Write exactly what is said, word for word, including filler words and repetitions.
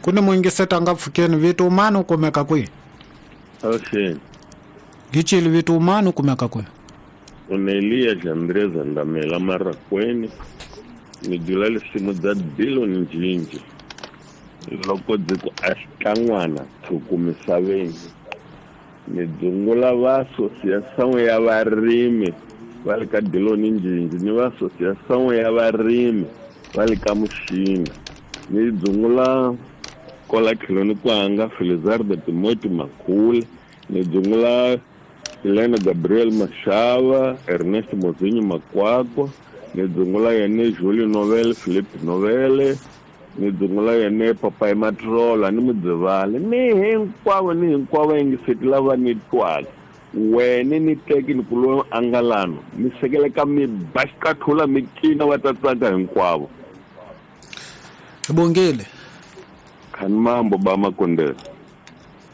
Ku ni muyingiseti nga pfukeni vito mani u kumeka kwihi? Avuxeni. Gicili vito mani u kumeka kwihi? Onelia Jandreza Ndamela Marakweni. Ni dlula lisimu dza Dillon Njinji. Loko ndzi ku a xikan'wana tshuku misaveni. Ni dzungula va asosiyasão ya varimi va le ka Dillon Njinji ni va asosiyasão ya varimi va le ka Muxina. Ni dzungula kola tlhelweni kwanga Felizardo Timothy Makhule. Ni dzungula Helena Gabriel Mashava, Ernest Mozinho Makwakwa. Ni dzungula yene Julie Novel, Philip Novele. Ni dzungula yene Papai Matrola ni Mudzivale. Ni hinkwavo ni hinkwavo yingiseti lava ni twaka. Wene ni teki ni kulo angalano. Mi sekele ka mi ba xiqathula mi cina va ta tsaka hinkwavo. Hi bongile. Khani mambo ba makondela.